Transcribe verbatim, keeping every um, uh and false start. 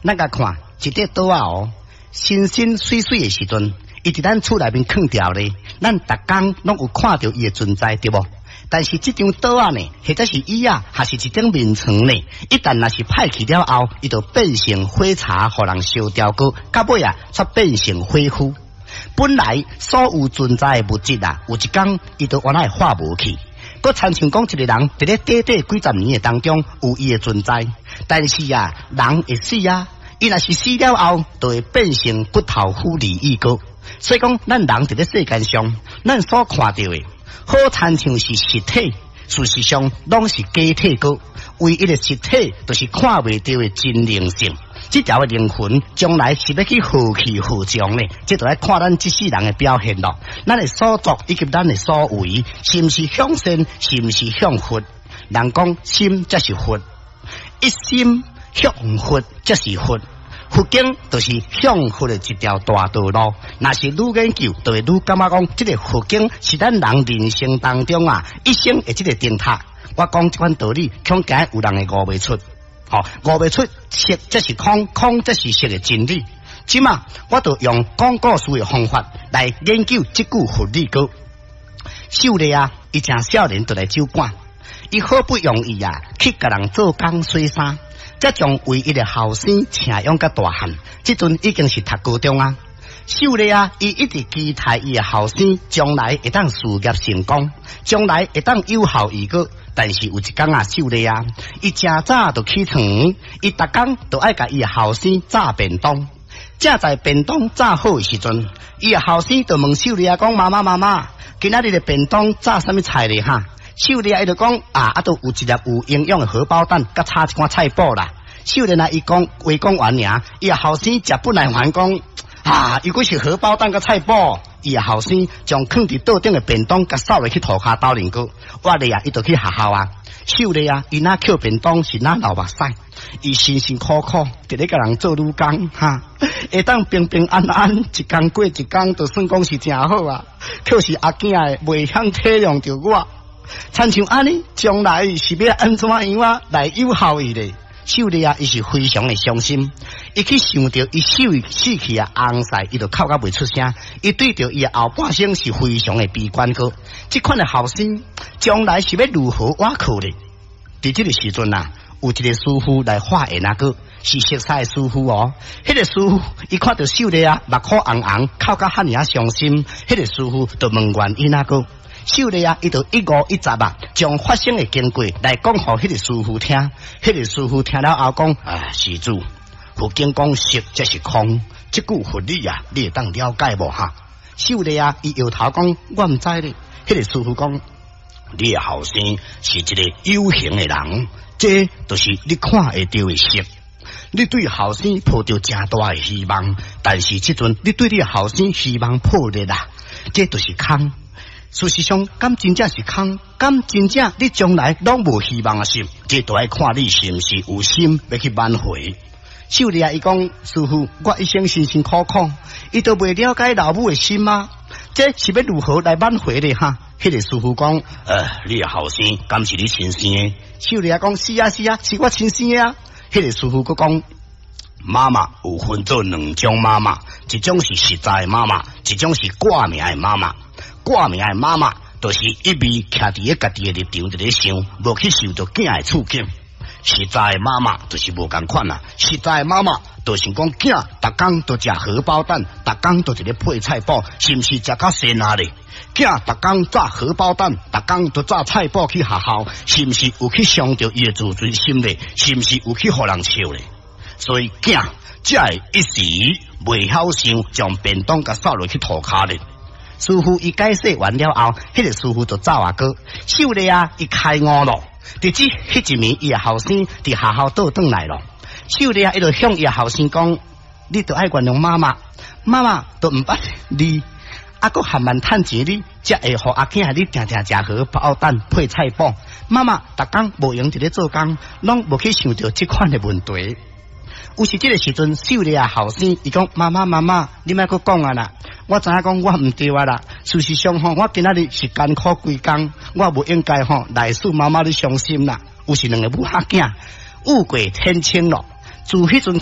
咱共看一塊桌仔哦，新新媠媠的時陣，伊佇咱厝內面囥著咧，咱逐工攏有看著伊的存在，對無？但是這張桌仔呢，或者是椅仔，還是一張眠床呢？一旦若是歹去了後，伊就變成火柴，予人燒掉過，到尾啊，才變成火灰。本來所有存在的物質啊，有一工伊都原來會化無去。閣親像講一個人佇咧短短幾十年的當中有伊的存在，但是啊，人會死啊，伊若是死了後，就會變成骨頭腐離異過。所以講，咱人佇咧世間上，咱所看著的，好親像是實體，事實上攏是假體過。唯一的實體，就是看袂著的真靈性。這條的靈魂將來是欲去何去何從呢？這就愛看咱這世人的表現咯。咱的所作以及咱的所為，是毋是向善，是毋是向佛？人講心才是佛，一心向佛才是佛。佛經就是向佛的一條大道路。若是愈研究，就會愈感覺講，這个佛經是咱人人生當中啊，一生的這个燈塔。我講這款道理，恐驚有人會悟袂出。吼，悟袂出色則是空，空則是色的真理。這馬我就用講故事的方法來研究這句佛理歌。秀麗啊，伊誠少年就來酒館，伊好不容易啊去共人做工洗衫，才將唯一的後生請養甲大漢。這陣已經是讀高中啊。秀麗啊，伊一直期待伊的後生將來會當事業成功，將來會當有後遺過。但是有一工啊，秀麗啊，伊誠早就起床，伊逐工都愛共伊的後生炸便當。正在便當炸好的時陣，伊的後生就問秀麗啊講：媽媽媽媽，今仔日的便當炸啥物菜咧？哈？秀麗啊，伊就講啊，啊，都有一粒有營養的荷包蛋，佮炒一寡菜脯啦。秀麗啊，伊講話講完爾，伊的後生食不耐煩講啊，如果是荷包蛋佮菜脯。伊的後生將囥佇桌頂的便當共掃落去塗跤兜面過，我咧啊，伊就去學校啊。秀麗啊，伊若抾便當是若流目屎，伊辛辛苦苦佇咧共人做女工，哈，會當平平安安一工過一工，就算講是誠好啊。可是阿囝的袂曉體諒著我，親像按呢，將來是欲按怎樣啊來有效伊咧？秀麗啊，伊是非常的傷心，伊去想著伊死死去的翁婿，伊就哭甲袂出聲。伊對著伊的後半生是非常的悲觀個。這款的後生將來是欲如何倚靠咧？佇這个時陣啊，有一个師傅來化緣啊，個是熟似的師傅哦。彼个師傅伊看著秀麗啊，目眶紅紅，哭甲遐爾仔傷心。彼个師傅就問原因啊，個。秀麗啊，伊就一五一十啊，將發生的經過來講予彼个師傅聽。彼个師傅聽了後講：啊，施主，佛經講色即是空，這句佛理啊，你會當了解無哈？秀麗啊，伊搖頭講：我毋知咧。彼个師傅講：你的後生是一个有形的人，這就是你看會著的色。你對後生抱著誠大的希望，但是這陣你對你的後生希望破裂啦，這就是空。事實上，敢真正是空？敢真正你將來攏無希望啊？是，這都愛看你是毋是有心欲去挽回。秀麗啊，伊講師傅，我一生辛辛苦苦，伊都袂了解老母的心嗎？這是欲如何來挽回咧？哈？彼个師傅講，呃，你的後生敢是你親生的？秀麗啊，講是啊是啊，是我親生的啊。彼个師傅閣講，媽媽有分做兩種媽媽，一種是實在的媽媽，一種是掛名的媽媽。掛名的媽媽，就是一味徛佇咧家己的立場佇咧想，無去想著囝的處境。實在的媽媽就是無仝款啊！實在的媽媽就是講囝，逐工都食荷包蛋，逐工都佇咧配菜脯，是毋是食較鮮啊咧？囝逐工炸荷包蛋，逐工都炸菜脯去學校，是毋是有去傷著伊的自尊心咧？是毋是有去予人笑咧？所以囝才會一時袂曉想，將便當共掃落去塗跤咧。師傅伊解釋完了後，彼个師傅就走啊過。秀麗啊，伊開悟咯。直至彼一暝，伊的後生佇學校倒轉來咯。秀麗啊，伊就向伊的後生講：你著愛原諒媽媽，媽媽都毋捌你，啊，閣含慢趁錢，你才會予阿囝你定定食荷包蛋配菜脯。媽媽逐工無閒佇咧做工，攏無去想著這款的問題。有時這个時陣，秀麗啊後生伊講：媽媽媽媽，你莫閣講啊啦！我知影講我毋對啊啦。事實上吼，我今仔日是艱苦規工，我無應該吼來使媽媽你傷心啦。有時兩个母仔囝雨過天晴咯，自彼陣。